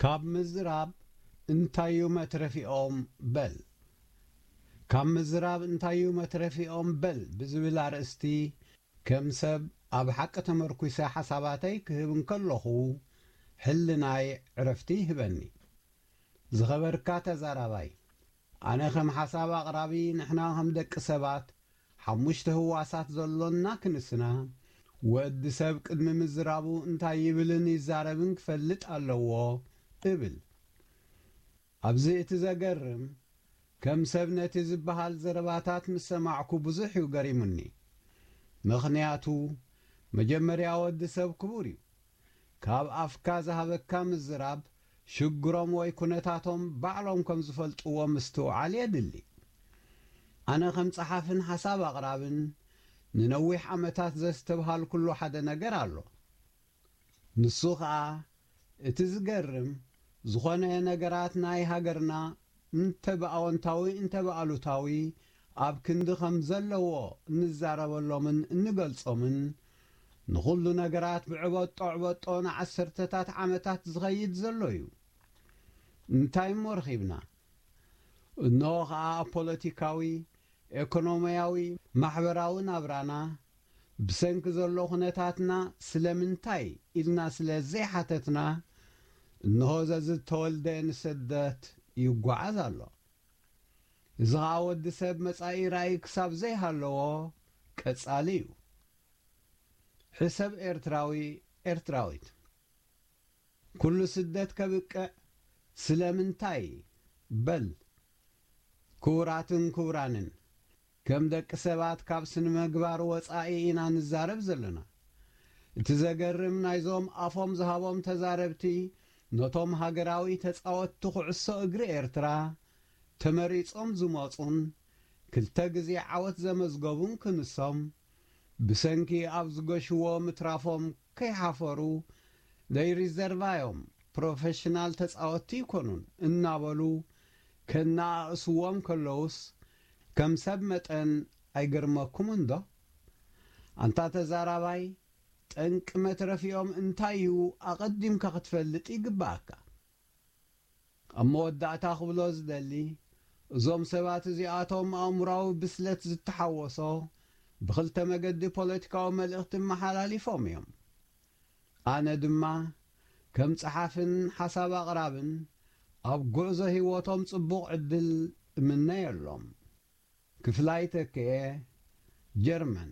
ካብ ምዝራብ እንታዩ መትረፊኦም በል። ካብ ምዝራብ እንታዩ መትረፊኦም በል ብዝብል ኣርእስቲ ከም ሰብ ኣብ ሓቂ ተመርኲሰ ሓሳባተይ ክህብ እንከለኹ፣ ሕልናይ ዕረፍቲ ይህበኒ። ዝኸበርካ ተዛራባይ፣ ኣነ ከም ሓሳብ ኣቕራቢ፣ ንሕና ከም ደቂ ሰባት ሓሙሽተ ህዋሳት ዘሎና ክንስና፣ ወዲ ሰብ ቅድሚ ምዝራቡ እንታይ ይብልን ይዛረብን ክፈልጥ ኣለዎ እብል። ኣብዚ እቲ ዘገርም፣ ከም ሰብ ነቲ ዝበሃል ዘረባታት ምስ ሰማዕኩ ብዙሕ እዩ ገሪሙኒ። ምኽንያቱ፣ መጀመርያ ወዲ ሰብ ክቡር እዩ። ካብ ኣፍካ ዝሃበካ ምዝራብ፣ ሽግሮም ወይ ኩነታቶም ባዕሎም ከም ዝፈልጥዎ ምስትውዓል የድሊ። ኣነ ከም ጸሓፍን ሓሳብ ኣቕራብን ንነዊሕ ዓመታት ዘስተብሃልኩሉ ሓደ ነገር ኣሎ። ንሱ ኸኣ፣ እቲ ዝገርም፣ ዝኾነ ነገራት ናይ ሃገርና እንተ ብኣወንታዊ እንተ ብኣሉታዊ ኣብ ክንዲ ከም ዘለዎ እንዛረበሎምን እንገልጾምን፣ ንኹሉ ነገራት ብዕበጦ ዕበጦ ንዓሰርተታት ዓመታት ዝኸይድ ዘሎ እዩ። እንታይ እሞ ረኺብና? እንሆ ኸኣ ኣብ ፖለቲካዊ፣ ኤኮኖምያዊ፣ ማሕበራዊ ናብራና ብሰንኪ ዘሎ ኩነታትና ስለምንታይ ኢልና ስለ ዘይሓተትና፣ እንሆ ዘዝተወልደ ንስደት ይጓዓዝ ኣሎ። እዚ ኸኣ ወዲ ሰብ መጻኢ ራእይ ክሳብ ዘይሃለዎ ቀጻሊ እዩ። ሕሰብ ኤርትራዊ፣ ኤርትራዊት። ኩሉ ስደት ከብቅዕ ስለምንታይ በል። ክቡራትን ክቡራንን፣ ከም ደቂ ሰባት ካብ ስነ-ምግባር ወጻኢ ኢና ንዛረብ ዘለና። እቲ ዘገርም ናይዞም ኣፎም ዝሃቦም ተዛረብቲ ነቶም ሃገራዊ ተጻወትቲ ኩዕሶ እግሪ ኤርትራ ተመሪጾም ዝመጹን ክልተ ግዜ ዓወት ዘመዝገቡን ክንሶም፣ ብሰንኪ ኣብ ዝገሽዎ ምትራፎም ከይሓፈሩ፣ ደይ ሪዘርቫዮም ፕሮፌሽናል ተጻወትቲ ይኮኑን እናበሉ ከነኣእስዎም ከለዉስ፣ ከም ሰብ መጠን ኣይገርመኩምን ዶ? ኣንታ ተዛራባይ፣ ጠንቂ መትረፊኦም እንታይ እዩ ኣቐዲምካ ክትፈልጥ ይግብኣካ። ኣብ መወዳእታ ክብሎ ዝደሊ፣ እዞም ሰባት እዚኣቶም ኣእምሮኣዊ ብስለት ዝተሓወሶ፣ ብኽልተ መገዲ ፖለቲካዊ መልእኽቲ መሓላሊፎም እዮም። ኣነ ድማ ከም ጸሓፍን ሓሳብ ኣቕራብን ኣብ ጉዕዞ ህይወቶም ጽቡቕ ዕድል እምነየሎም። ክፍላይ ተክኤ፣ ጀርመን።